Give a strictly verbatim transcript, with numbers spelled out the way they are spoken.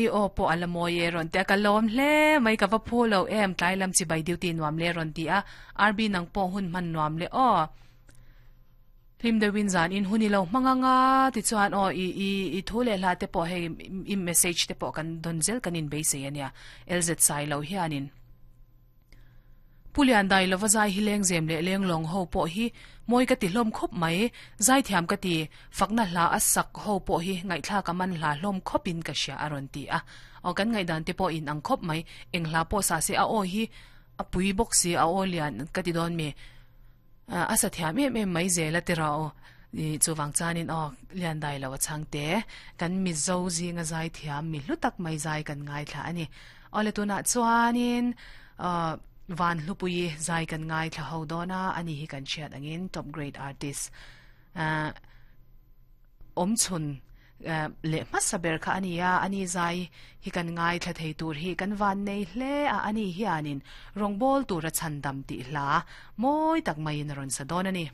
I aw pawh a la mawi e rawn ti a, ka lawm hle mai ka va phu lo em tlai lam chibai duty nuam le rawn ti a, R B nang pawh hun hman nuam le aw. Hlim deuhin zan in hun i lo hmang anga tichuan aw i i i thu leh hla te pawh hei i message te pawh kan dawn zel kan inbeisei ania L Z sai lo hianin. Pu Lian dai lova zai hi leng zem leh leng lawng ho pawh hi mawi ka ti hlawm khawp mai, zai thiam ka ti, fakna hla a sak ho pawh hi ngaihthlak a man hla hlawm khawp in ka hria a rawn ti a. Aw kan ngaihdan te pawh in ang khawp mai, eng hla pawh sa se a aw hi a pui bawk si a aw lian ka ti dawn mi a sa thiam em em mai zel a ti rawh aw chuvang chuanin aw Lian dai lo a chhang te kan Mizo zinga zai thiam mi hlu tak mai zai kan ngaithla a ni. Aw le tunah chuanin aw Van Hlupui zai kan ngaithla ho dawn a, ani hi kan hriat angin top grade artist awm chhun leh hmasa ber kha a ni a, ani zai hi kan ngaithla thei tur hi kan van nei hle a, ani hianin rawngbâwl tura chhandam tih hla mawi tak maiin a rawn sa dawn a ni.